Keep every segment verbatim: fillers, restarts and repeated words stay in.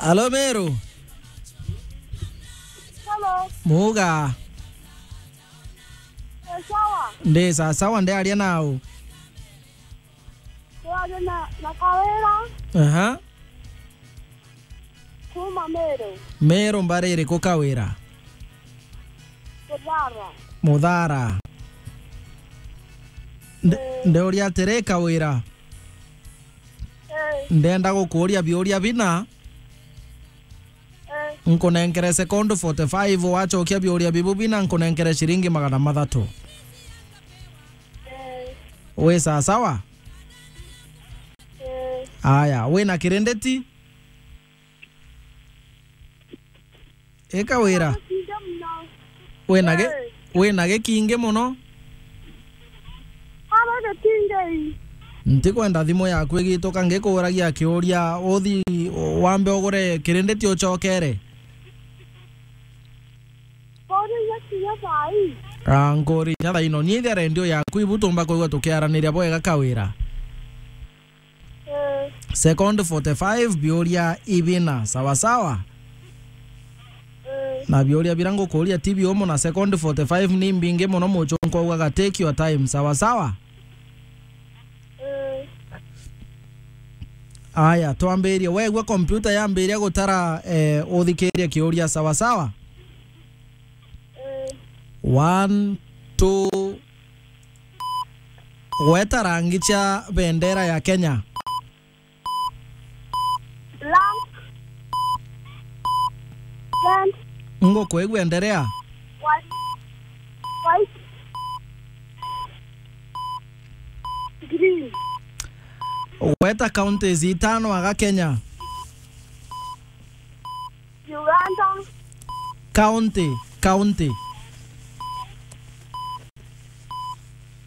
Alo, Meru. Hello. Muga. Eh, sawa. Ndi sawa sawa, ndi aria nau. Twaria na, na Kawira. Aha. Kuma Meru. Meru mbari iriku Kawira? Muthara. Muthara. Nde-, eh, ndeuria atiri Kawira. Eh. Ndenda gukuuria biuria bina. Eh. Nkunenkere sekondi forty-five, wachokia biuria bibu bina, nkunenkere ciringi magana mathatu. Eh. Wi sawa sawa? Eh. Aya, wina kirinditi? Ika wira. Kingi muno. Wina gi-, eh, wina gikingi muno? Ara gikingi. Ntikwenda thimu yaku igituka ngikuuragia kiuria, uthi wambe ugure kirinditi ucokere. Kuri ya kinya thaa ii. Ah, nkuri ya thaa ino. Nyithia redio yaku ibu tumba kwigua tukiaraniria bwega Kawira. Eh. Sekondi forty-five, biuria ibina, sawa sawa? Eh. Na biuria bira ngukuuria ti biumu, na sekondi forty-five ni mbingi muno, muchunku augaga, "Take your time," sawa sawa? Eh. Aya, twambirie. Wegua kompyuta yambiria gutara, eh, uthikirie kiuria, sawa sawa? Eh. One, two, Gweta rangi cia bendera ya Kenya. Black, red, ngukwigua, enderea. White, white, green. Gweta counties itano aga Kenya. Uganda. County, county.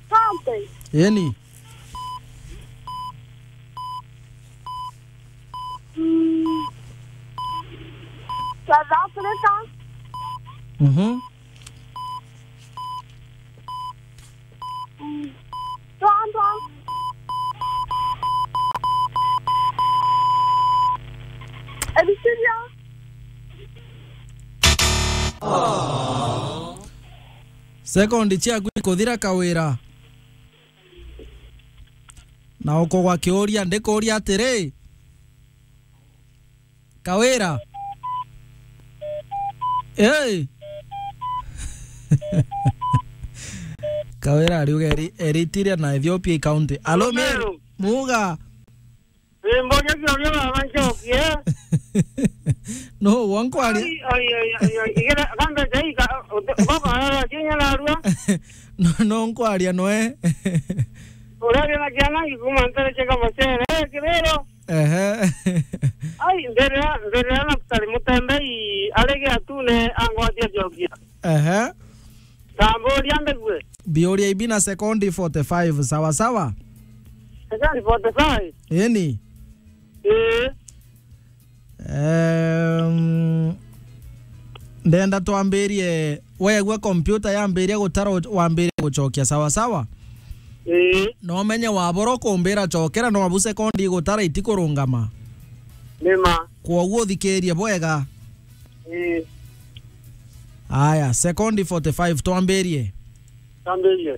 County. Yeni. Mm. South Africa. Mhm. Mm. Rwanda. Eritrea. Sekondi ciaku ikuthira Kawira. Na ukugwa kiuria, ndikuuria atiri, Kawira. Hey. Kawira ariuga Eri-, Eritrea na Ethiopia i county. Alo, Meru. Meru. Muga. Ii, mboria kiuria baba ncokie. No, wa nkwaria. Ai, ai, ai, ai, ai. Igere, kambe jaika, uti-, baba, ara, kinya narua. No, no nkwaria noe. Uria wina ciana ngikuma ntere cheka macere. Eh, Kibero. Ehe. Ai, mbere ya, mbere ya Naftali Mutembei, ari giatune angwatia njokia. Ehe. Tamburia mbegue. Biuria ibi na sekondi forty-five, sawa sawa? Sekondi forty-five? Eni. Ii. Em, ndenda twambirie, wegua kompyuta yambiria gutara, wambirie gucokia, sawa sawa? Ii. Na umenye wabora kumbira cokera, no abu sekondi igutara itikurungama. Nima. Kwoguo uthikirie bwega. Ii. Aya, sekondi forty-five, twambirie. Twambirie.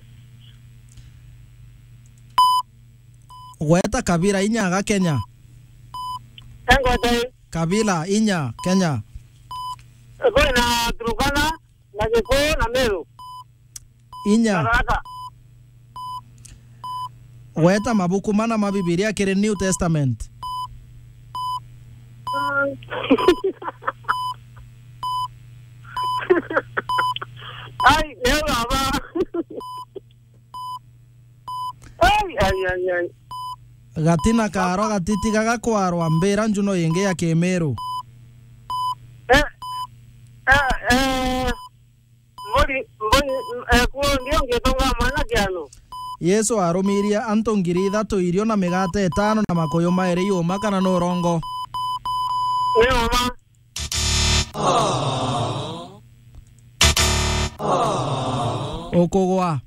Gweta kabila inya aga Kenya. Engwete. Kabila inya Kenya. Kwina Turkana, na Gikuyu, na Meru. Inya. Na Tharaka. Gweta mabuku mana ma Bibilia kiri New Testament. Ai, nio baba. Ai, ai, ai, ai. Gatina karo gatitigaga kwarwa, mbira njuno ingi ya Kimiru. Eh, eh, eh. Mburi, mburi, eh, kuo ndio ngitunga mwana kiano. Yesu arumirie antu ngiri ithatu irio na migate itano na makuyu mairi yuma kana ni urongo? Ni uma. Ukugwa.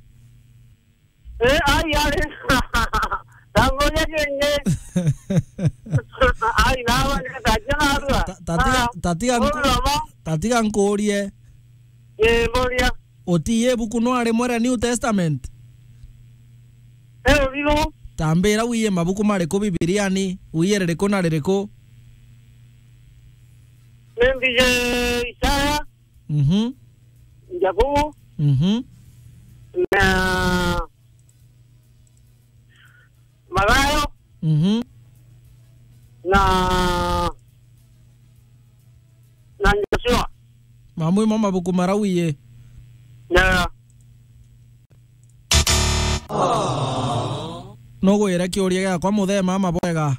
Eh, ai, ai. Tangoja kenge. Ai, na wa ni kaja na rua. Ta-, Tatiga, Ah, tatiga nku-, uri mama. Tatiga nkuurie. Ii, mburia. Utii ibuku no ari mwere New Testament? Ii, uriru. Tambira wiye mabuku mariku Bibiriani, wiye ririku na ririku? Nimbije Isaya. Mhm. Jakubu. Mhm. Na Mathayo. Mhm. Na, na Joshua. Mamwe mo mabuku marauiye. Na. Nugwire kiuria giakwa muthee mama bwega.